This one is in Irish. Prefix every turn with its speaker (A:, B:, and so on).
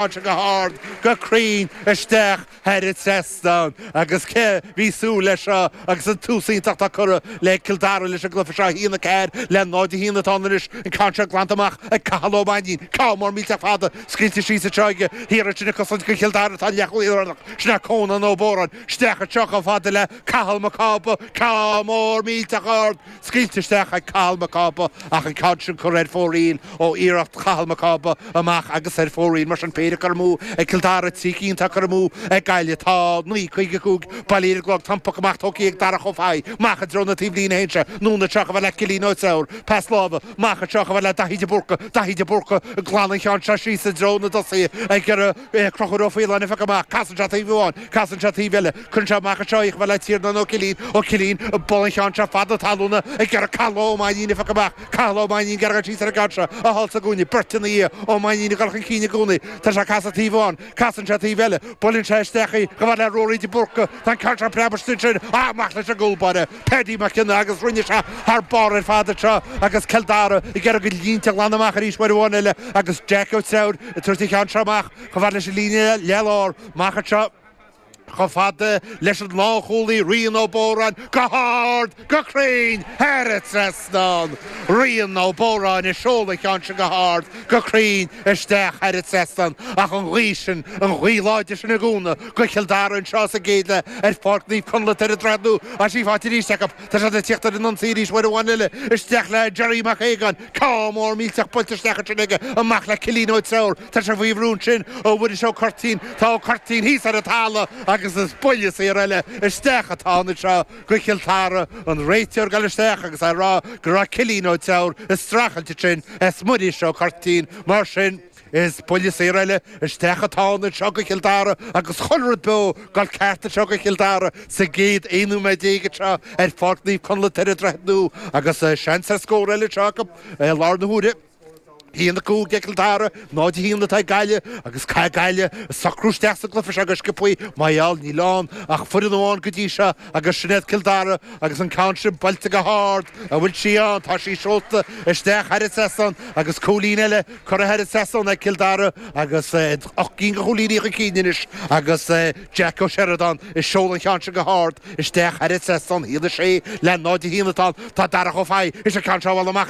A: Seo go hard, go cruinn, isteach thar an trasnán agus cé bhí súil leis seo agus an tús iontach atá curtha le Cill Dara leis an gcluiche seo, 1-4 le 0-1 atá ann anois, an ceann seo glanta amach ag Cathal Ó Mainnín, ceann mór millteach fada scaoilte síos anseo aige, thiar ansin ag cosaint do Chill Dara atá an leathchúlaí lárnach, sin é Cónán Ó Bóráin, isteach anseo chomh fada le Cathal Mac Cába, ceann mór millteach ard. Scaoilte isteach ag Cathal Mac Cába ach an ceann sin curtha ar fóraoil ó iarracht Chathal Mac Cába amach agus ar fóraoil. Mar sin péire curtha amú ag Cill Dara, 3 cinn atá curtha amú ag Gaillimh. Tá 9:55 bailithe ar an gclog. Tá an puc amach tógtha ag Darach Ó Fathaigh. Amach i dtreo na taobhlíne a théann sé. Anonn anseo chomh fada le Cillian Ó Treabhair. Pas láimhe. Amach anseo chomh fada le Daithí de Búrca. Daithí de Búrca ag glanadh an cheann seo síos i dtreo na dtosaithe ag iarraidh Conchúr Ó Faoláin a phiocadh amach. Casann sé taobh amháin. Casann sé taobh eile. Cuireann sé amach anseo í chomh fada le Tiarnán Ó Cillín. Ó Cillín ag bualadh an cheann seo fada talúna ag iarraidh Cathal Ó Mainnín a phiocadh amach. Cathal Ó Mainnín ag iarraidh dul síos ar an gceann seo a fháil sa gcúinne. Beirt ina dhiaidh. Ó Mainnín ag dul chun cinn i gcónaí. Tá sé ag casadh taobh amháin. Casann sé taobh eile. Buaileann sé isteach í chomh fada le Ruairí de Búrca. Tá an ceann seo preab istigh ansin. Amach leis an gcúl báire. Paddy Mac Cionnaith agus rinne sé thar barr ar fad anseo agus Cill Dara ag iarraidh a línte a ghlanadh amach arís uair amháin eile agus Jack Ó Treabhair ag tabhairt an cheann seo amach chomh fada leis an líne leath-lár amach anseo chomh fada leis an lánchúlaí Rian Ó Bóráin go hard, go cruinn thar an trasnán. Rian Ó Bóráin ag seoladh an cheann sin go hard, go cruinn isteach thar an trasnán ach an ghaoth sin, an ghaoth láidir sin ag cúnamh do Chill Dara anseo sa gcéad leath ar Pháirc Naomh Conleth ar an Droichead Nua. Tá sí faighte arís acu. Tá siad ag tíocht ar an ionsaí arís uair amháin eile. Isteach le Jerry Mac Aogáin. Ceann mór millteach buailte isteach ansin aige. Amach le Cillian Ó Treabhair. Tá sé faoi bhrú ansin ó Mhuiris Ó Curtín. Tá Ó Curtín thíos ar an talamh agus is buille saor eile isteach atá ann anseo do Chill Dara. An réiteoir ag dul isteach agus é ag rá go raibh Cillian Ó Treabhair ag streachailt ansin as Muiris Ó Curtín. Mar sin. Is buille saor eile isteach atá ann anseo do Chill Dara agus chuile rud beo ag dul ceart anseo do Chill Dara sa gcéad 11 nóiméad anseo ar Pháirc Naomh Conleth ar an Droichead Nua agus seans ar scór eile anseo acu i lár na huaire. 1-5 ag Cill Dara, 0-1 atá ag Gaillimh agus caithfidh Gaillimh socrú isteach sa gcluiche seo go sciobthaí mar gheall níl ann ach foireann amháin go dtí seo agus sin iad Cill Dara agus an ceann sin buailte go hard, an bhfuil sí ann? Tá sí seolta isteach thar an trasnán agus cúilín eile Curtha thar an trasnán ag Cill Dara agus 8 gcinn de chúilíní chun cinn anois agus Jack Ó Seireadáin ag seoladh an cheann sin go hard isteach thar an trasnán. 1-6 le 0-1 atá ann. Tá Darach Ó Fathaigh is an ceann seo a bhualadh amach.